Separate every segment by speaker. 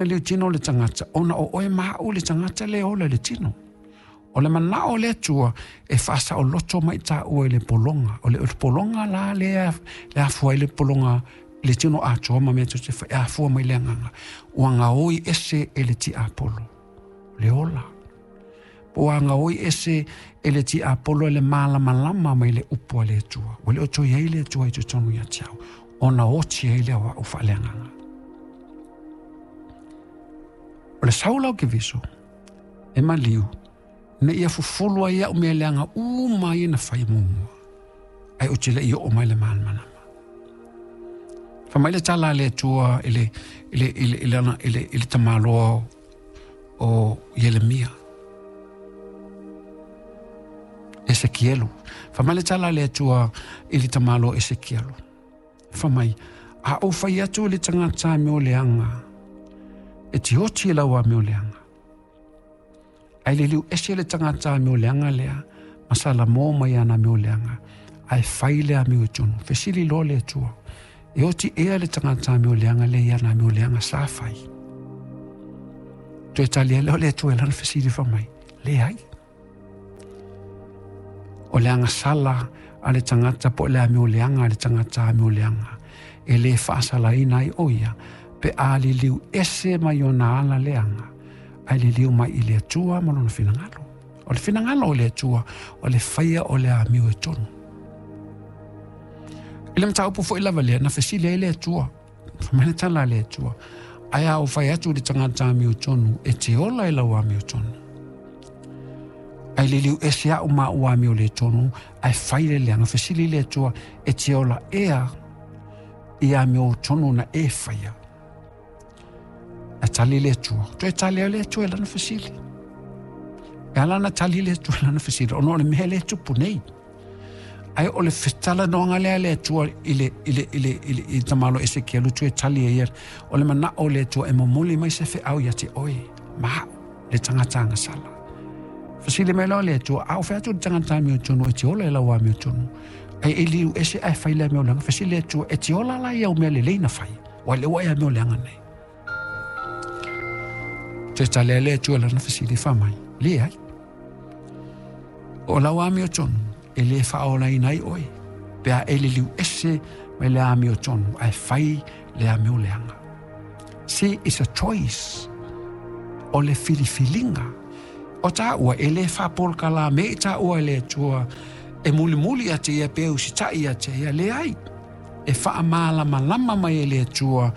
Speaker 1: Le tino o le tagata, ona o oe ma a'u le tagata le ola i le tino. O le manao o le Atua e faasaoloto mai taua i le pologa. O le pologa la lea le afua ai le pologa le tino atoa ma mea tou te fai, e afua mai le agaga ua gaoi ese e le tiapolo le ola. Po ua gaoi ese e le tiapolo le malamalama mai le upu a le Atua. Ua le o toe i ai le Atua i totonu ia te au, ona oti ai lea o a'u faaleagaga. O le sau la o Keriso, e maliu, ina ia fufulu ai a'u mea leaga uma ia na fai muamua, ae ou te le i oo mai le malamalama. Fai mai le tala a le Atua i le, i le, i le, i le, i le, i le tamaloa o Ieremia. Esekielu. Fai mai le tala a le Atua i le tamaloa Esekielu. Fai mai, a ou fai atu i le tagata amio leaga, e te oti i lau amio leaga. Ae liliu ese le tagata amio leaga lea, ma salamo mai ana amio leaga, ae fai le amio i tonu. Fesili loa le Atua, e oti ea le tagata amio leaga lea i ana amio leaga sa fai? Toe tali ai lea o le Atua i lana fesili fai mai, leai. O le agasala a le tagata po o le amio leaga a le tagata amio leaga, e le faasalaina ai o ia, pe a liliu ese mai ona ala leaga, ae liliu mai i le Atua ma lona finagalo. O le finagalo o le Atua, o le faia o le amio e tonu. I le mataupu foi lava lea, na fesili ai le Atua, fai mai le tala a le Atua, ae a ou fai atu i le tagata amio tonu, e te ola i lau amio tonu. Ae liliu ese a'u ma a'u amio le tonu, ae fai le leaga, fesili le Atua, e te ola ea i amio tonu na e faia. Ae tali le Atua, toe tali ai le Atua i lana fesili. E ala ona tali le Atua i lana fesili, ona o le mea lea e tupu nei. Ae o le fetalanoaga lea a le Atua i le, i le, i le, i le, i tamaloa Esekielu toe tali ai, o le manao o le Atua e momoli mai se feau ia te oe, ma a'u, le tagata agasala. Fesili mai loa le Atua, a o fai atu le tagata amiotonu e te ola i lau amiotonu, ae e liu ese ae fai le amio leaga. Fesili le Atua, e te ola la i au mea lelei na fai, ua le ua e amio leaga nei. Toe tali ai le Atua i lana fesili fai mai, leai. O lau amiotonu, e le faaolaina ai oe, pe a e liliu ese mai le amiotonu, ae fai le amio leaga. See, it's a choice. O le filifiliga. O tāua, e le faapolokalame i tāua e le Atua e mulimuli ia te ia pe usitai ia te ia, leai. E faamalamalama mai e le Atua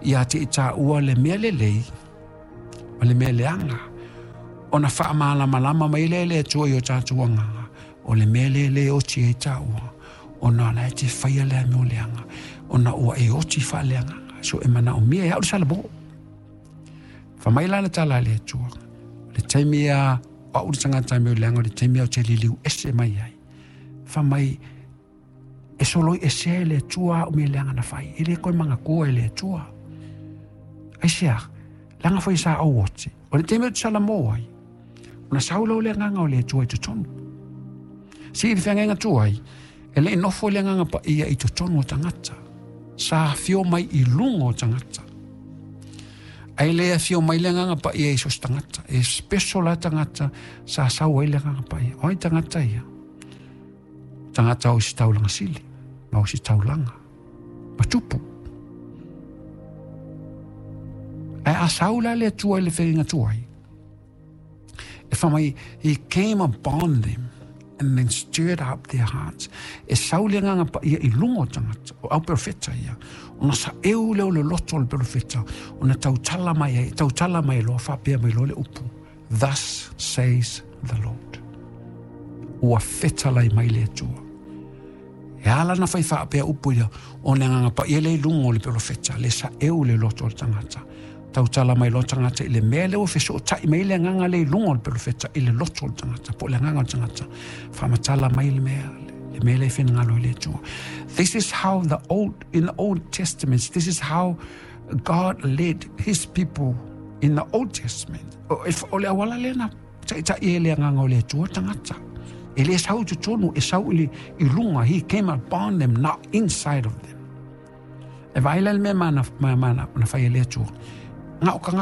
Speaker 1: ia te i tāua le mea lelei ma le mea leaga. Ona faamalamalama mai lea e le Atua i o tātou agaga, o le mea lea e le oti ai tāua, ona o la e te faia le amio leaga, ona ua e oti faaleagaga. So e manaomia e a'u le salamo. Fai mai la le tala a le Atua, o le taimi a o a'u le tagata amio leaga, o le taimi a ou te liliu ese mai ai. Fai mai, e soloi ese e le Atua a'u mea leaga na fai, e le koe manatua e le Atua. Aisea, leaga foi sa ou oti. O le taimi ou te salamo ai, ona sau lea o le agaga o le Atua i totonu. Si i le feagaiga tuai, e le i nofo le agaga paia i totonu o tagata. Sa afio mai i luga o tagata. Ae le afio mai le agaga paia i so o se tagata. E special la tagata sa sau ai le agaga paia. O ai tagata ia? Tagata o isi taulaga sili, ma o isi taulaga. Ma tupu. Ae a sau la le Atua i le feagaiga tuai, e fai mai, he came upon them and then stirred up their hearts. E sau le agaga paia i luga o tagata, o au perofeta ia, ona saeu lea o le loto o le perofeta, ona tautala mai ai, tautala mai loa, faapea mai loa le upu, thus says the Lord. Ua fetalai mai le Atua. E ala na fai faapea upu ia, o le agaga paia lea i luga o le perofeta, le saeu le loto o le tagata. Tautala mai loa tagata i le mea lea ua fesootai mai le agaga lea i luga o le perofeta i le loto o le tagata, po o le agaga o le tagata. Faamatala mai le mea, le mea lea e finagalo i le Atua. This is how the old, in the Old Testament, this is how God led his people in the Old Testament. O le auala lea na taitai ai le agaga o le Atua tagata. E le sau i totonu, e sau i, le, i luga. He came upon them, not inside of them. E vaai la le mea mana, mana, na fai e le Atua. Nga o tagata.